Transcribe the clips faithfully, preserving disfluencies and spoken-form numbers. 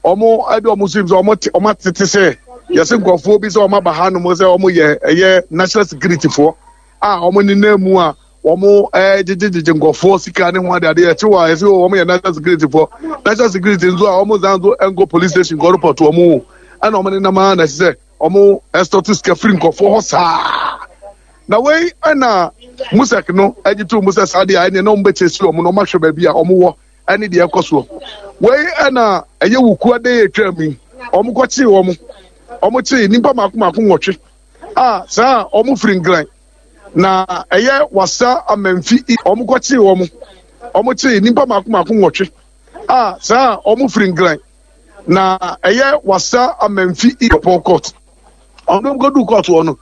Wɔn de wɔn sim sɛ wɔn te wɔn atete sɛ yɛsɛ nkurɔfoɔ bi sɛ wɔn aba ha nom sɛ wɔn yɛ ɛyɛ national security foɔ a wɔn nenam mu a wɔn gyegyegyegye nkurɔfoɔ sika ne ho ade ade ɛkye wɔ a yɛsɛ wɔn yɛ national security foɔ. National security nso a wɔn san nso nkɔ police station kɔ report wɔn o, ɛna wɔn nenam ara na ɛsɛ sɛ wɔn ɛstɔto sika firi nkurɔfoɔ hɔ saa. Na wei ɛna musek no agye to mu sɛ saa deɛ a ɛneɛ na wɔn bɛkyɛ si wɔn na wɔn ahwɛ baabi a wɔn wɔ ɛne deɛ ɛkɔ soɔ. Wei ɛna ɛyɛ wukua de yɛ atwa mu yi, wɔn kɔkyee wɔn wɔn kyee nnipa mako mako nwɔtwe a saa wɔn firi Nkran na ɛyɛ Wasa Amanfi. Wɔn kɔkyee wɔn wɔn kyee nnipa mako mako nwɔtwe a saa wɔn firi Nkran na ɛyɛ Wasa Amanfi Pɔn court. Wɔn kɔdu court hɔ no,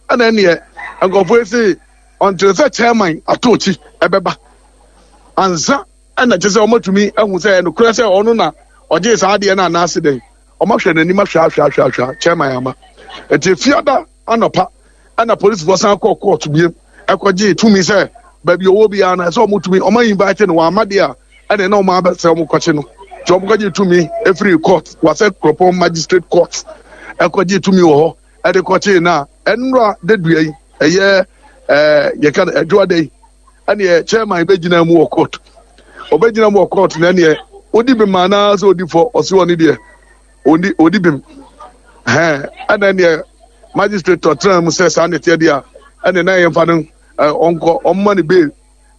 ɛna ɛneɛ nkurɔfoɔ yi se ɔnkyerɛ sɛ chairman atokyi ɛbɛba ansa ɛna kyerɛ sɛ wɔatumi ahu sɛ ɛnokorɛ sɛ ɔno na ɔgyee saa adeɛ no anaase dɛn. Wɔahwɛ n'anim ahwɛ ahwɛ ahwɛ ahwɛ, chairman ama. Nti Efiada anɔpa ɛna polisifoɔ san kɔɔ court biem ɛkɔgyee tumi sɛ baabi ɔwɔ biara no ɛsɛ wɔn tumi wɔn invite no. Wɔn ama deɛ a ɛna ɛna wɔn abɛ sɛ wɔn kɔkye no. Nti wɔn kɔgye tumi efiri court, Wasɛ Kuropɔn Magistrate Court, ɛkɔgye tumi wɔ hɔ ɛde kɔkye na ɛnura dedua yi ɛyɛ ɛɛ yɛka no ɛdwoada yi, ɛneɛ chairman bɛgyina mu wɔ court. Ɔbɛgyina mu wɔ court na ɛneɛ odi bem anaa sɛ odi fɔ. Ɔsi wɔ ne deɛ odi odi bem hɛn. Ɛna ɛneɛ magistrate ɔtena mu sɛ saa ne teɛ deɛ a, ɛne na yɛmfa no ɔnkɔ, ɔmma ne bail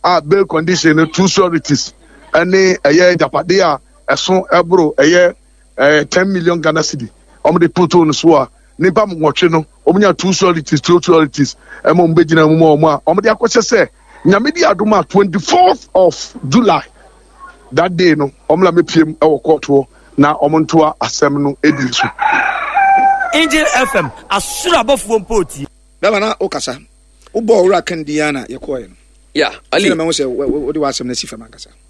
a bail condition no two sureties ɛne ɛyɛ agyapadeɛ a ɛso ɛboro ɛyɛ ɛɛ ten million Ghana cedi. Wɔn de toto no so a nipa nwɔtwe no wɔn nya two sureties two sureties ɛma wɔn bɛgyina mu ma wɔn a wɔn de akɔhyɛ sɛ Nyame di adom a twenty fourth of July that day no wɔn la mepiem ɛwɔ court hɔ na wɔn ntoa asɛm no edi so. Angel F M, asoro abɔfoɔ mpo tie. Bɛma na wokasa wobɔɔ Owura Kan din a na yɛkɔɔɛ no. Ya, Ali. Sɛ na mahu sɛ wode w'asɛm no asi fam ankasa.